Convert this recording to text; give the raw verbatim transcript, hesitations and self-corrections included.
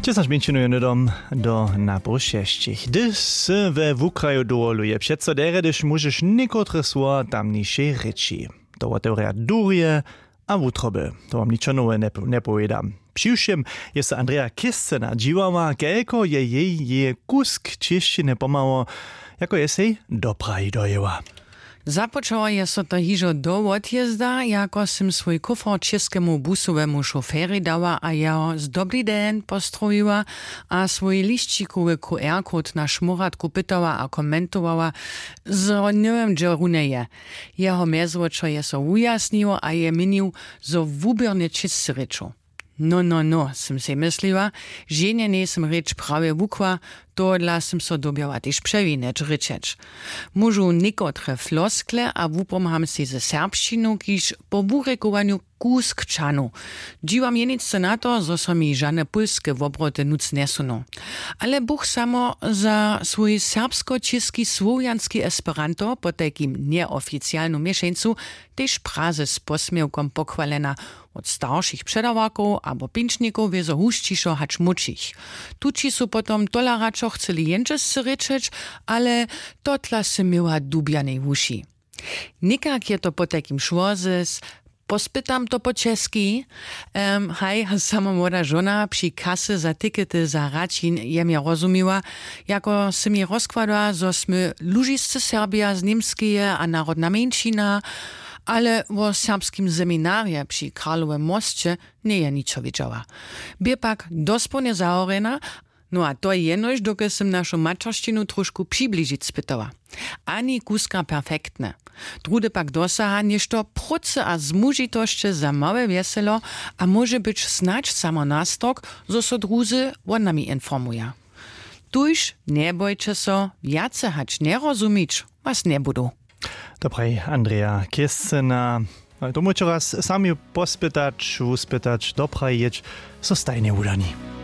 Dźesać mjeńšinow je hnydom do napoł šesćich. Hdyž sy we wukraju dowoluje, přeco derje, hdyž móžeš někotre słowa tamnišej rěči. To wotewrja durje a wutroby. To wam ničo nowe njepowědam. Přiwšěm je so Andrea Kěscena dźiwała, kelko je jej jeje kusk čěšćiny pomhało, jako je sej do Prahi dojěła. Započało je so to hižo do wotjezda, jako sym swój kufr čěskemu busowemu šoferjej dała a jeho z dobli den postrowiła a swój lisćikowy QR-kod na šmóratku pytała a komentowała, zo njewěm, hdźe runje je. Jeho mjezwočo je so wujasniło a je měnił, zo wuběrnje čěsće rěčow. No no no, sym sej mysliła, ženje njejsym rěč prawje wukła. Tohodla sym so dyrbjała tež přewinjeć rěčeć. Móžu někotre floskle a wupomham sej ze serbšćinu, kiž po wurěkowanju kusk čanu. Dźiwam jenicce na to, zo so mi žane pólske wobroty nutř njesuną. Ale buch samo za swój serbskočěski słowjanski esperanto potajkim njeoficialnu měšeńcu tež praze z posměłkom pochwalena. Wot staršich předawarkow abo pinčnikow wězo husćišo hač młódšich. Tući su potom tola radšo chceli jendźesce rěčeć, ale totla sy měła dubjanej wuši. Někak je to potajkim šło zes. Pospytam to po česki. Em, haj, samo młoda žona při kasy za tikety za raćin je mje rozumiła, jako sy mi rozkładała, zo smy lužiscy serbja z němskeje a narodna mjeńšina, ale wo serbskim seminarje při karlowym mosće njeje ničo wědźała. Bě pak dospołnje zahorjena. No a to jenož dokelž sym našu maćeršćinu trošku přibližić spytała. Ani kuska perfektne. Druhdy pak dosaha něšto prócy a zmužitosće za małe wjeselo a móže być snadź samo nastork, zo so druzy wot nami informuja. Tuž njebojće so, wjace hač njerozumić was njebudu. To praji Andrea Kěscena. Tomu ćo raz sami pospytać, wuspytać, do Prahi jěć, so stajnje wudani.